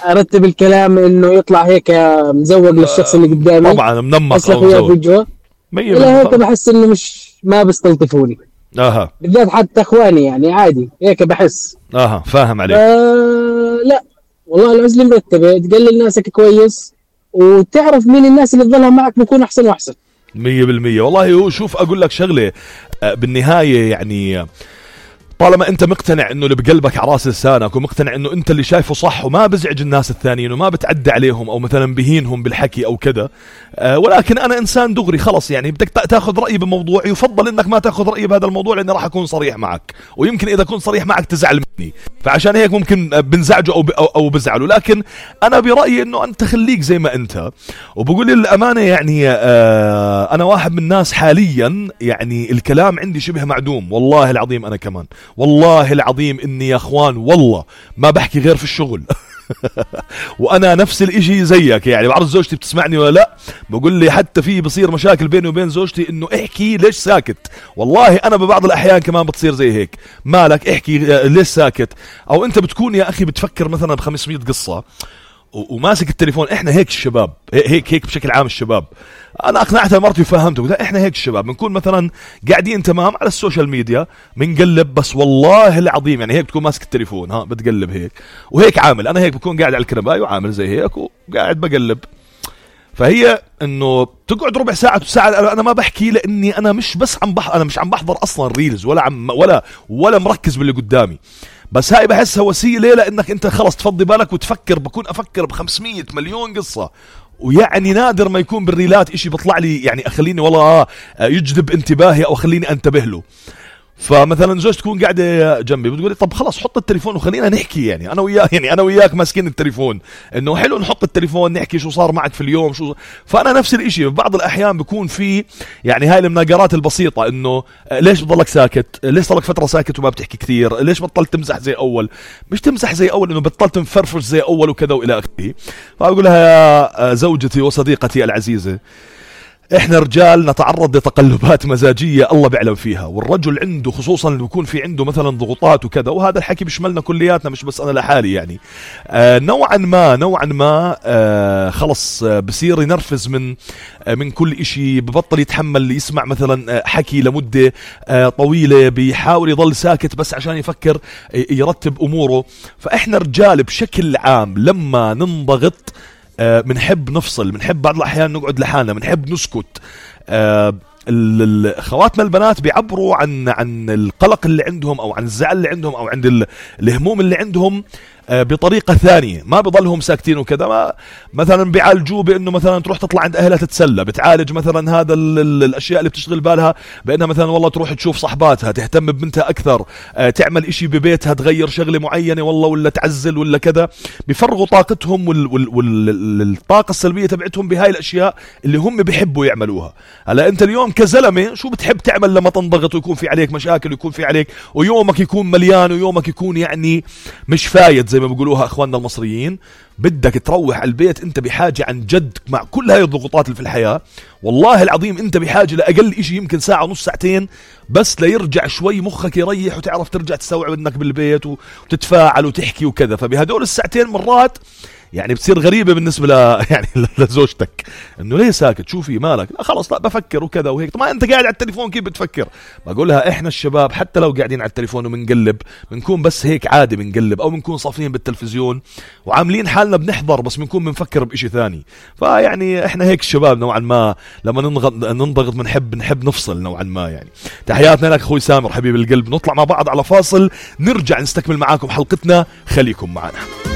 ارتب الكلام انه يطلع هيك مزوق للشخص اللي قدامي، طبعا منمق او مزوق في وجهه. لا هيك بحس انه ما بيستلطفوني. بالذات حتى اخواني يعني عادي هيك بحس. فاهم عليك. لا والله العزلة مرتبة، تقلل ناسك كويس وتعرف مين الناس اللي تظلها معك بيكون احسن واحسن 100%. والله هو شوف اقول لك شغله بالنهايه، يعني طالما انت مقتنع انه اللي بقلبك على راس لسانك، ومقتنع انه انت اللي شايفه صح وما بزعج الناس الثانيين وما بتعدى عليهم او مثلا بهينهم بالحكي او كذا، ولكن انا انسان دغري خلص، يعني بدك تاخذ رايي بموضوع، يفضل انك ما تاخذ رايي بهذا الموضوع لاني راح اكون صريح معك، ويمكن اذا كنت صريح معك تزعل مني، فعشان هيك ممكن بنزعجه او بزعله. لكن انا برايي انه انت خليك زي ما انت. وبقول للامانه يعني انا واحد من الناس حاليا يعني الكلام عندي شبه معدوم، والله العظيم انا كمان والله العظيم اني يا اخوان والله ما بحكي غير في الشغل. وانا نفس الاشي زيك، يعني بعرف زوجتي بتسمعني ولا لا، بقول لي حتى في بصير مشاكل بيني وبين زوجتي انه احكي ليش ساكت. والله انا ببعض الاحيان كمان بتصير زي هيك، مالك احكي ليش ساكت. او انت بتكون يا اخي بتفكر مثلا ب500 قصة وماسك التليفون. احنا هيك الشباب، هيك بشكل عام الشباب. انا اقنعتها مرتي وفهمته، قلت احنا هيك الشباب بنكون مثلا قاعدين تمام على السوشيال ميديا بنقلب، بس والله العظيم يعني هيك بتكون ماسك التليفون بتقلب هيك وهيك عامل. انا هيك بكون قاعد على الكرباي وعامل زي هيك وقاعد بقلب. فهي انه تقعد ربع ساعة وساعة انا ما بحكي، لاني انا مش بس انا مش عم بحضر اصلا ريلز ولا مركز باللي قدامي، بس هاي بحسها وسيلة لانك انت خلص تفضي بالك وتفكر. بكون افكر ب500 مليون قصة، ويعني نادر ما يكون بالريلات اشي بطلع لي يعني اخليني والله يجذب انتباهي او خليني انتبه له. فمثلا زوجتي تكون قاعده جنبي بتقول لي طب خلاص حط التليفون وخلينا نحكي، يعني انا وياك ماسكين التليفون، انه حلو نحط التليفون نحكي شو صار معك في اليوم فانا نفس الاشي. في بعض الاحيان بيكون في يعني هاي المناقرات البسيطه، انه ليش بضلك ساكت، ليش صار لك فتره ساكت وما بتحكي كثير، ليش بطلت تمزح زي اول. مش تمزح زي اول، انه بطلت مفرفش زي اول وكذا والى اخره. فاقول لها يا زوجتي وصديقتي العزيزه، احنا رجال نتعرض لتقلبات مزاجية الله بيعلم فيها، والرجل عنده خصوصا اللي بيكون في عنده مثلا ضغوطات وكذا، وهذا الحكي بيشملنا كلياتنا مش بس انا لحالي يعني. نوعا ما خلص بصير ينرفز من كل اشي، ببطل يتحمل يسمع مثلا حكي لمدة طويلة، بيحاول يضل ساكت بس عشان يفكر يرتب اموره. فاحنا رجال بشكل عام لما ننضغط منحب نفصل، منحب بعض الأحيان نقعد لحالنا، منحب نسكت. خواتنا البنات بيعبروا عن القلق اللي عندهم أو عن الزعل اللي عندهم أو عند الهموم اللي عندهم بطريقة ثانية، ما بضلهم ساكتين وكذا. مثلا بيعالجوه بأنه مثلا تروح تطلع عند أهلها تتسلى، بتعالج مثلا هذا الأشياء اللي بتشغل بالها بأنها مثلا والله تروح تشوف صحباتها، تهتم ببنتها أكثر، تعمل إشي ببيتها، تغير شغلة معينة والله، ولا تعزل ولا كذا. بيفرغوا طاقتهم والطاقة السلبية تبعتهم بهاي الأشياء اللي هم بيحبوا يعملوها. هلا أنت اليوم كزلمة شو بتحب تعمل لما تنضغط ويكون في عليك مشاكل ويكون في عليك ويومك يكون مليان ويومك يكون يعني مش فايد زي ما بيقولوها اخواننا المصريين؟ بدك تروح على البيت انت بحاجة عن جد مع كل هاي الضغوطات اللي في الحياة، والله العظيم انت بحاجة لاقل اشي يمكن ساعة ونص ساعتين بس ليرجع شوي مخك يريح وتعرف ترجع تستوعب انك بالبيت وتتفاعل وتحكي وكذا. فبهدول الساعتين مرات يعني بتصير غريبة بالنسبة يعني لزوجتك، انه ليه ساكت، شو في مالك؟ لا خلاص لا بفكر وكذا وهيك. طب ما انت قاعد على التليفون كيف بتفكر؟ بقول لها احنا الشباب حتى لو قاعدين على التليفون وبنقلب بنكون بس هيك عادي بنقلب، او بنكون صافين بالتلفزيون وعاملين حالنا بنحضر بس بنكون بنفكر بإشي ثاني. فيعني احنا هيك الشباب نوعا ما لما ننضغط بنحب نفصل نوعا ما يعني. تحياتنا لك اخوي سامر حبيب القلب. نطلع مع بعض على فاصل، نرجع نستكمل معاكم حلقتنا، خليكم معنا.